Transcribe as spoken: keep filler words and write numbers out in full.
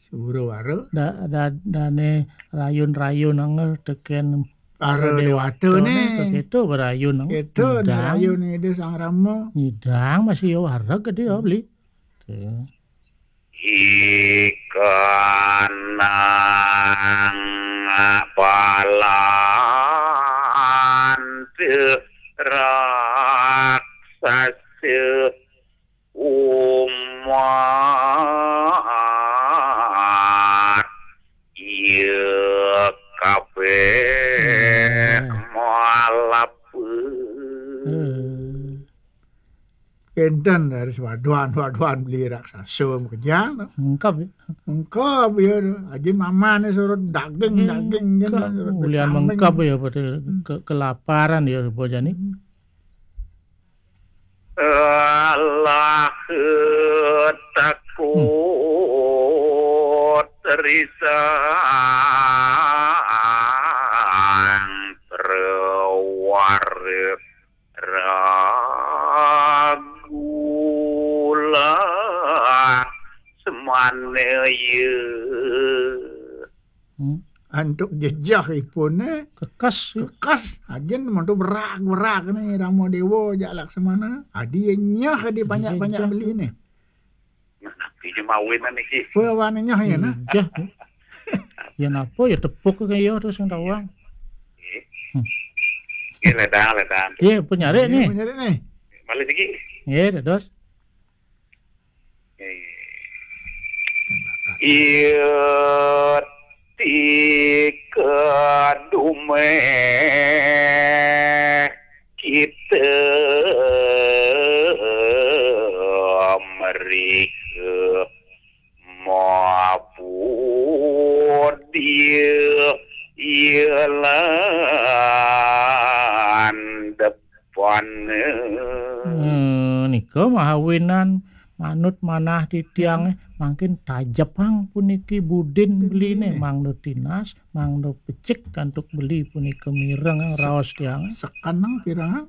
Suro wara. Da, da, dane rayun-rayun anger teken Ara Dewata dewata ne. Keto berayun anger. Keto ne rayun Ida Sang Rama. Nyidang masih ya wareg gede ya beli. Ikanang palan raksasa umat iya kabeh malap. Kenten dari sewaduan-waduan beli raksasa makejang. Mengkap ya. Mengkap ya. Ajin mamane surut daging-daging kan. Ulian mengkap ya pada ke, kelaparan ya bocah ni. Alah takut risang terwarek ragulah semana ya. Antuk jejah ipun ne. Kekas. Kekas. Ajin mantu berak-berak ni Rama Dewa jak Laksamana. Adi nyah di banyak-banyak beli ni. Nah, napi je mawinan iki? Apa wan nyah ya nah? Ijah. Ya napa ya tepuk ke ya terus yang tawang. Nggih, ledang, ledang. Iya, penyare ni. Penyare ni. Balik lagi. Iya, terus. Iya, tika dumeh kita merika mapud dia ialan depan. Hmm, nika mahawinan manut manah titiang mangkin tajepang puniki budin beline mangda tinas, mangda pecik kantuk beli punika mireng raos tiang. Sekeneng pirang?